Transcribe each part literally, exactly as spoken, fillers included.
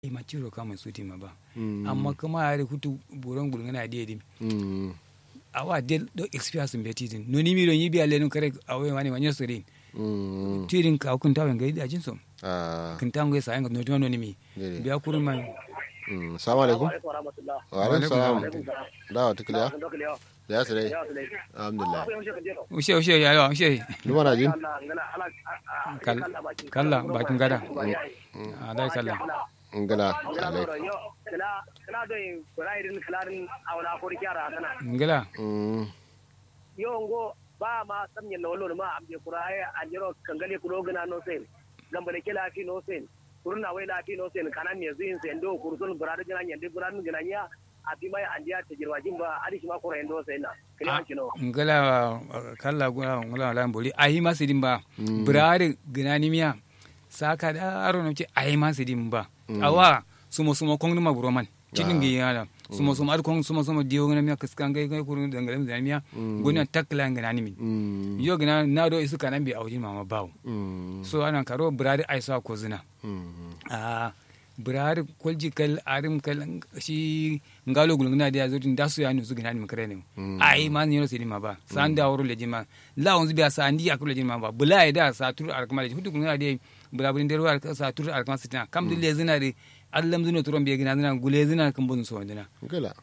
Ima ciro kamai sutin ma ba. Amma kǝma adǝ futu buron gulgǝna diye din. Awa del do experience mbe tidin nonimi do nyi biya lenum kare. Awo ye mani ma nyo sǝrin. Tidin kawu kǝntawo ye ngai dajin so. Kǝntawo ngai sayen ngai nonimi. Biya kurun ma. Salamu alaikum. Wa alaikum salam. Dawa tukliya. Ya sire. Alhamdulillah. Ushe ushe ya yawa ushe. Duma na jin. Kalla bakin gada. Adai kalla. Ngla alai. Ngla. Yo ngo ba ma samnyen na wallo ma amje kura ai anjero kangale kudo gna no sen. Gambale kela fi no sen. Kurun na wai la fi no sen kanan ne zin sen do kursun burada gna nyande burada gna nya. Afi mai andiya tajirwa jin ba adi shima kura yando sen na. Kila kino. Ngla. Kalla guna ngla lan bori ayi ma sidin ba. Burada gna ni miya. Saka da aro no ce ayi ma sidin ba. Awa sumo sumo kong numa buroman. Cidin gi yana. Sumo sumo ad kong sumo sumo diyo gna miya kiska ngai ngai kurun dangale mi miya. Guna takla gna ni min. Yo gna na do isu kanan bi aujin mama bawo. So anan karo burada ai sa ko zina. Aa. Bǝrarǝ kolji kal arǝm kal. Shi ngalo gulgǝna diya zodin dasu ya nusu gǝna nim kare nim. Ayi ma nyiro sidi ma ba sandi aworo lejin ma. Lawonzu biya sandi yakuro lejin ma ba bǝla ye da sa tur arkǝma lejin futu gulgǝna diya. Bǝla bǝrin dero arkǝma sa tur arkǝma sitina kamdǝ lezǝna dǝ. Allamzǝno turon biye gǝnazǝna gulezǝna kǝmbozǝn sowandǝna.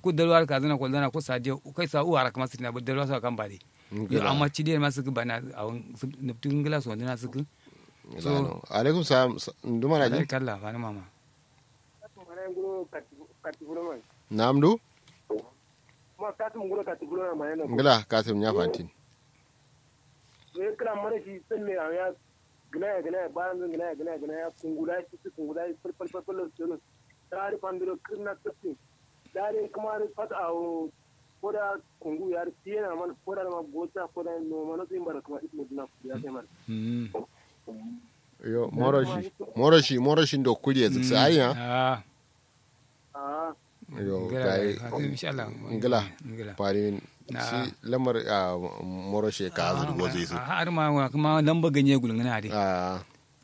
Ku dalwa arkazǝna kolzana ku sa diya kai sa uwa arkǝma sitina bǝ dalwa so akan bade. Yo amma cide ma sǝkǝ bana awon. Nǝptǝ ngǝla sowandǝna sǝkǝ. So alaikum salam. Nduma na jin kalla fani mama. Nam du. Ngla kasim nya fantin. Kla mara shi tsalle a ya. Gna ya gna ya bayan zan gna ya gna ya gna ya kungula shi su kungula shi fal fal fal fal. Tari fandiro kirna tsalle. Dari kuma ri fat awo. Koda kungu yar tiyena man koda ma gocha koda no mano sin bara kuma ismu dina kuriya sai man. Yo moroshi moroshi moroshi ndo kuriye ziksa aiya. Ah. Yo gai. Inshallah. Ngla. Pari shi lamar. Moroshi ka azur gozi su. Har ma kuma lamba ganye gulngana de.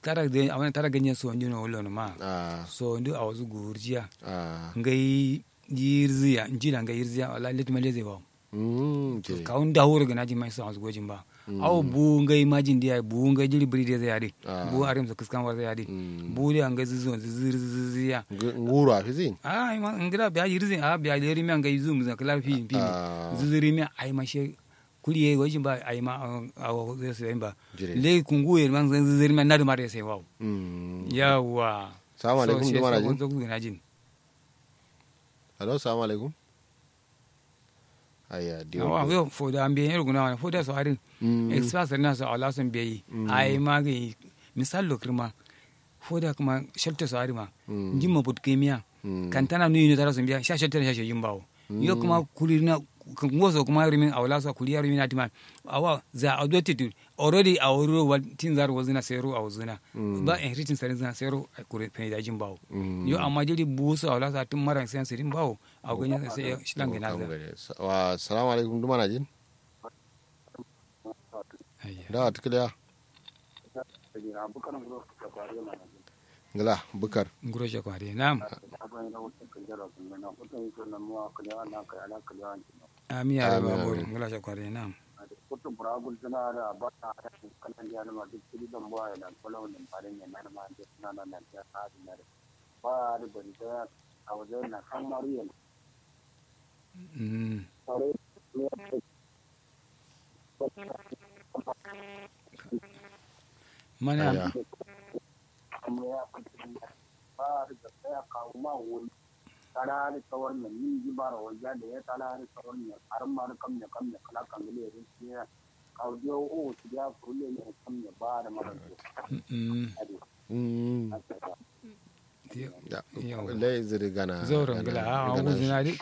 Tara ganye so ndino wolo ma. So ndu awazu gurjiya. Ngai. Yirziya njila ngai yirziya wala let ma leze bawo. Kawun dawo ro gana jin ma isa wansu gojin ba. Awo buwu ngai majin diya buwu ngai jiri biri de zai adi. Buwu arim so kiskan war zai adi. Buwu diya ngai zizi wansu zizir zizir ya. Nguro a fizin. A ima ngira biya yirzin a biya leri miya ngai zum zan kala fi fi. Zizir miya ai ma she. Kuli ye gojin ba ai ma. Awo zai sai ba. Le kungu ye man zan zizir miya nadu ma de sai wawo. Yawa. Salamu alaikum duma na jin. Alo salamu alaikum. Ayya diyo. Awa yo foda an biye yero guna wani foda so arin. Express na so ala son biye. Ai ma ga misal lo kirma. Foda kuma shelter so arima. Njin ma but kemiya. Kantana nu yino tara son biya sha shelter sha shejin bawo. Yo kuma kulirina. Ngoso kuma rimin awla so kuliya rimin atima. Awa za a do titu. Already a wuri ro wal tin zaro wazina sero a wazina. Ba en ritin sarin zina sero a kure fene da jin bawo. Yo amma jiri buso a wala sa tun maran sen sirin bawo. A ganya sai shilan gana za. Wa salamu alaikum duma na jin. Ayya. Da atkiliya. Ngla bukar. Nguro shakwa de nam. Ami ya da babur ngla shakwa de nam. Kutu bura gultuna da ba ta kanan ya ma duk kiri dan ba ya nan kolo nan bare ne nan ma je suna nan nan ya sa din da ba da ban da a wajen na kan mariyan. Mana. Tala adǝ kawar nyen ningi baro walja deye tala adǝ kawar nyen arǝmma adǝ kamnye kamnye kǝla kangǝle adǝ shiye kawu diyo uwu shidiya kuru lenye kamnye ba adǝ maro diyo. Adǝ. Lai zǝri gana zauro ngla a wuzǝna dǝ.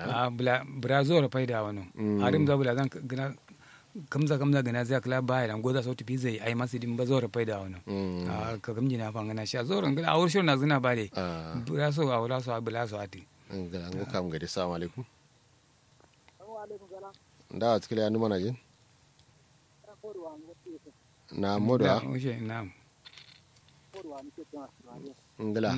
A bǝla bǝra zauro faida wano. Adǝm za bǝla zan gǝna. Kamza kamza gǝna ziya kǝla baya lan goza sautu fizai ai masu dimba zauro faida wano. A kakamji na fangana sha zauro ngla a wurshon na zǝna ba dai. Bǝra so a wula so a bǝla so ati. Ngla ngo kam gade salamu alaikum. Nda wa tukile andu mana jin. Na modo a. Ngla.